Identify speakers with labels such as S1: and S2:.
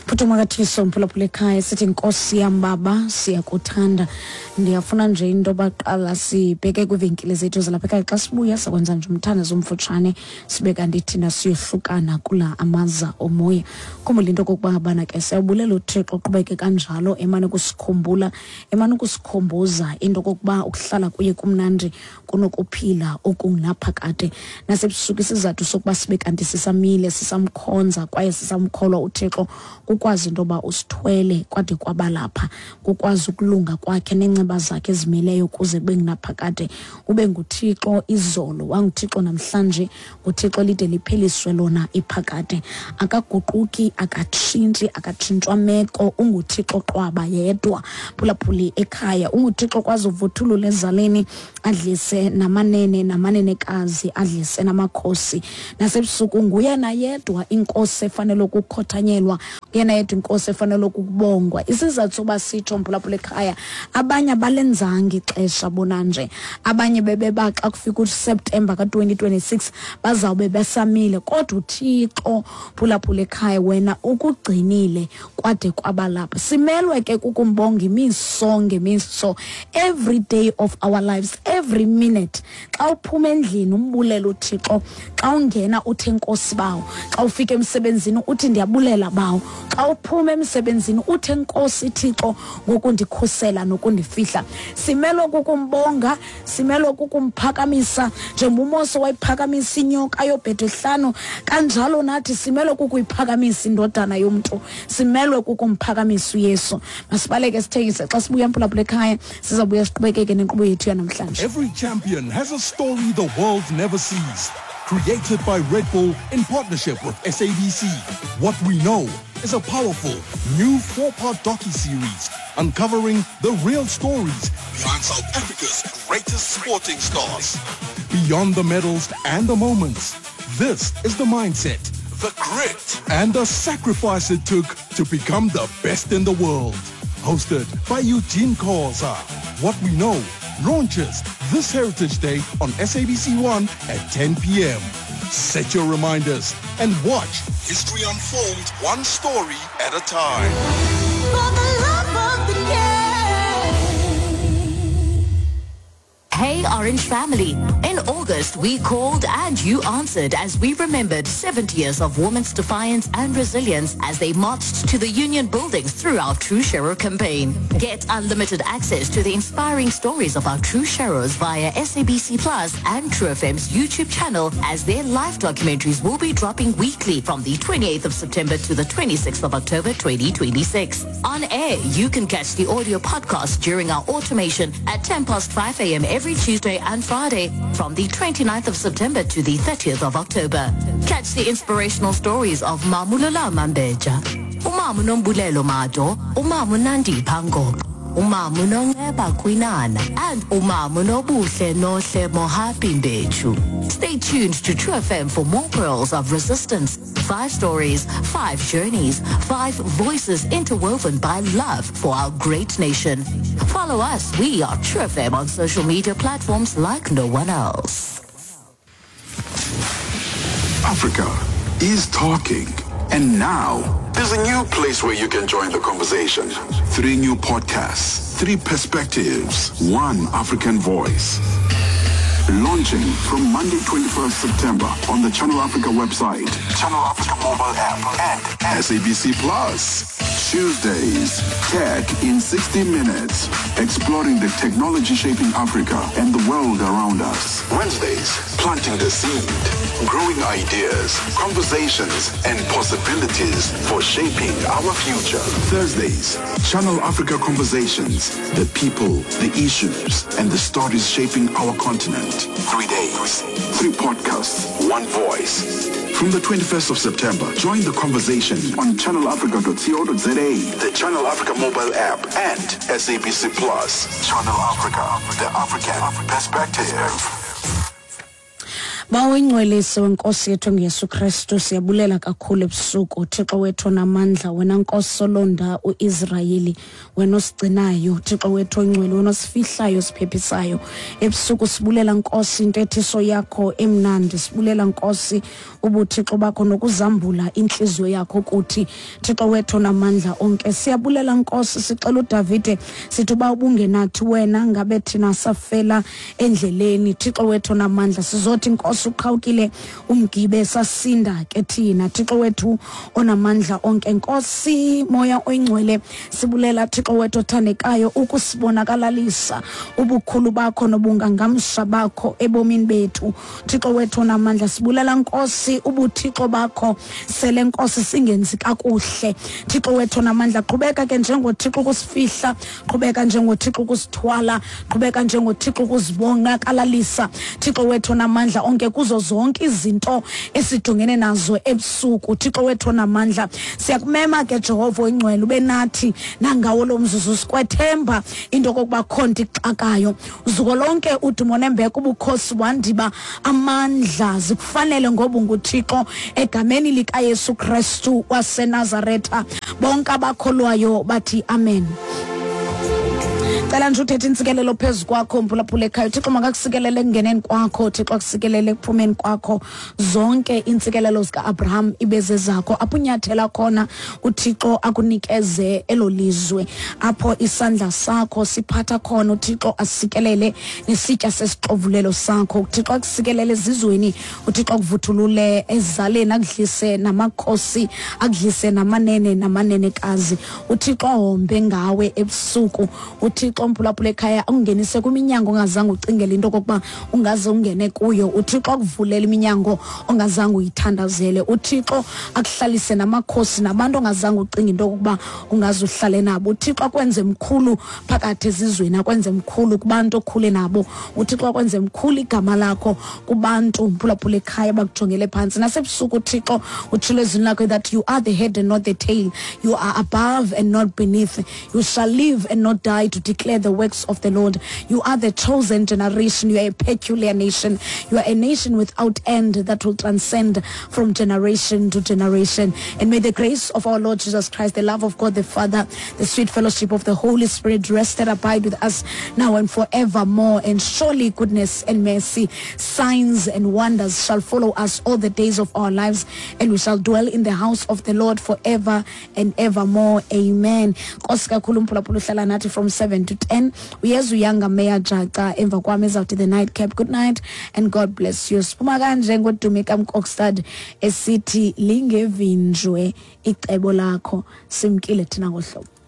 S1: Futhi umakathiso mphulaphula ekhaya, sithi Nkosi yam Baba, siyakuthanda. Ndiyafuna nje into baqala sibheke kwiivenkile zethu zalapha ekhaya. Xa sibuya sakwenza nje umthandazo omfutshane, sibe kanti thina siyohlukana kula amaza omoya. Khumbula into okokuba ngabana ke siyabulela uThixo, uqhubeke kanjalo emane ukusikhumbula, emane ukusikhumbuza into okokuba ukuhlala kuye kumnandi kunokuphila okungunaphakade. Nasebusuku isizathu sokuba sibe kanti sisamile, sisamkhonza kwaye sisamkholwa uThixo, kukwazi into yoba usithwele kwade kwabalapha, kukwazi ukulunga kwakhe neenceba zakhe ezimileyo kuze kube ngunaphakade. Ube nguThixo izolo, wanguThixo namhlanje, nguThixo lide lipheliswe lona iphakade. Akaguquki, akatshintshi, akatshintshwa meko, unguThixo qwaba yedwa. Phulaphuli ekhaya, unguThixo kwazi uvuthulula ezaleni, adlise namanene namanenekazi, adlise namakhosi. Nasebusuku nguyena yedwa inkosi efanele ukukhothanyelwa, yena yedwa inkosi efanele ukubongwa. Isizathu soba sitsho mphulaphula ekhaya, abanye abalenzanga ixesha bona nje, abanye bebeba xa kufika uSeptemba ka-2026 bazawube besamile, kodwa uThixo phulaphula ekhaya wena ukugcinile kwade kwabalapha. Simelwe ke kukumbonga imiso ngemiso, every day of our lives, every minute. Xa uphuma endlini umbulela uThixo, xa ungena uthi enkosi bawo, xa ufika emsebenzini uthi ndiyabulela bawo, xa uphuma emsebenzini uthi enkosi Thixo ngokundikhusela nokundifihla. Simelwe kukumbonga, simelwe kukumphakamisa njengoba uMose wayiphakamisa inyoka yobhedehlano, kanjalo nathi simelwe kukuyiphakamisa indodana yomntu, simelwe kukumphakamisa uYesu. Masibaleke sithengise, xa sibuya mphulaphula ekhaya sizawubuya siqhubekeke nenkqubo yethu yanamhlanje.
S2: Every champion has a story the world never sees. Created by Red Bull in partnership with SABC. What We Know is a powerful new 4-part docu-series uncovering the real stories behind South Africa's greatest sporting stars. Beyond the medals and the moments, this is the mindset, the grit, and the sacrifice it took to become the best in the world. Hosted by Eugene Khoza. What We Know launches this Heritage Day on SABC1 at 10 p.m. Set your reminders and watch history unfold one story at a time.
S3: For the love of the game.
S4: Hey Orange family, in August we called and you answered as we remembered 70 years of women's defiance and resilience as they marched to the union buildings through our True Sharer campaign. Get unlimited access to the inspiring stories of our True Sharers via SABC Plus and True FM's YouTube channel, as their live documentaries will be dropping weekly from the 28th of September to the 26th of October 2026. On air, you can catch the audio podcast during our automation at 5:10 a.m. every Tuesday and Friday from the 29th of September to the 30th of October. Catch the inspirational stories of Mamulola Mambeja, Umamu Nombulelo Mado, Umamu Nandi Pango, Umamu Nongeba Kwinana, and Umamu Nobuhle Nohle Mohapi Mbechu. Stay tuned to True FM for more pearls of resistance. 5 stories, 5 journeys, 5 voices interwoven by love for our great nation. Follow us. We are True FM on social media platforms like no one else.
S5: Africa is talking. And now, there's a new place where you can join the conversation. 3 new podcasts, 3 perspectives, 1 African voice. Launching from Monday 21st September on the Channel Africa website, Channel Africa mobile app, and SABC Plus. Tuesdays, Tech in 60 Minutes, exploring the technology shaping Africa and the world around us. Wednesdays, planting the seed, growing ideas, conversations, and possibilities for shaping our future. Thursdays, Channel Africa Conversations, the people, the issues, and the stories shaping our continent. 3 days, 3 podcasts, 1 voice. From the 21st of September, join the conversation on channelafrica.co.za, the Channel Africa mobile app, and SABC Plus. Channel Africa, the African perspective.
S1: Bawo ingcwelise wenkosi yethu ngeyesu Kristu, siyabulela kakhulu ebusuku. Thixo wethu namandla, wena Nkosi olonda uIsrayeli, wena osigcinayo, Thixo wethu oyingcwele, wena osifihlayo, osiphephisayo ebusuku. Sibulela Nkosi intethiso yakho emnandi, sibulela Nkosi ubuthixo bakho nokuzambula intliziyo yakho kuthi, Thixo wethu namandla onke. Siyabulela Nkosi, sixela uDavide sithi uba ubungenathi wena ngabe thina safela endleleni. Thixo wethu namandla, sizothi Nkosi uqhawukile umgibe sasinda ke thina. Thixo wethu onamandla onke, Nkosi Moya oyingcwele, sibulela Thixo wethu othandekayo ukusibonakalalisa ubukhulu bakho nobungangamsha bakho ebomini bethu. Thixo wethu onamandla, sibulela Nkosi ubuthixo bakho sele Nkosi singenzi kakuhle. Thixo wethu onamandla, qhubeka ke njengoThixo ukusifihla, qhubeka njengoThixo ukusithwala, qhubeka njengoThixo ukuzibonakalalisa. Thixo wethu onamandla onke, kuzo zonke izinto esijongene nazo ebusuku. Thixo wethu onamandla, siyakumema ke Jehova oyingcwele ube nathi nangawo lo mzuzu, sikwethemba into okokuba kho nto ixakayo. Zuko lonke, udumo nembeko, ubukhosi, wandiba amandla zikufanele ngoba unguThixo. Egameni likaYesu Kristu waseNazaretha, bonke abakholwayo bathi amen. Cela nje uthethe intsikelelo phezu kwakho, mphulaphula ekhaya. UThixo makakusikelele ekungeneni kwakho, uThixo akusikelele ekuphumeni kwakho. Zonke iintsikelelo zika-Abraham ibe zezakho. Apho unyathela khona, uThixo akunikeze elo lizwe. Apho isandla sakho siphatha khona, uThixo asikelele nesitya sesixovulelo sakho. UThixo akusikelele ezizweni, uThixo akuvuthulule ezaleni, akudlise namakhosi, akudlise namanene namanenekazi. UThixo ahombe ngawe ebusuku. UThixo, mphulaphula ekhaya, akungenise kwiminyango ongazange ucingele into okokuba ungaze ungene kuyo. UThixo akuvulele iminyango ongazange uyithandazele. UThixo akuhlalise namakhosi nabantu ongazange ucinge into okokuba ungaze uhlale nabo. UThixo akwenze mkhulu phakathi ezizweni, akwenze mkhulu kubantu okhule nabo. UThixo akwenze mkhulu igama lakho kubantu, mphulaphula ekhaya, bakujongele phantsi. Nasebusuku uThixo utshilo ezwini lakho that you are the head and not the tail, you are above and not beneath, you shall live and not die to declare the works of the Lord. You are the chosen generation, you are a peculiar nation, you are a nation without end that will transcend from generation to generation. And may the grace of our Lord Jesus Christ, the love of God the Father, the sweet fellowship of the Holy Spirit rest and abide with us now and forevermore. And surely goodness and mercy, signs and wonders shall follow us all the days of our lives, and we shall dwell in the house of the Lord forever and evermore. Amen. Nkosi kakhulu mphulaphula uhlala nathi from 7 to 10. Uyeza uyanga Mayor Jaca emva kwam ezawuthi the night cap. Good night and God bless you. Siphuma kanje ngoDumi kaMkokstad esithi lingevinjwe icebo lakho. Simkile thina ngohlobo.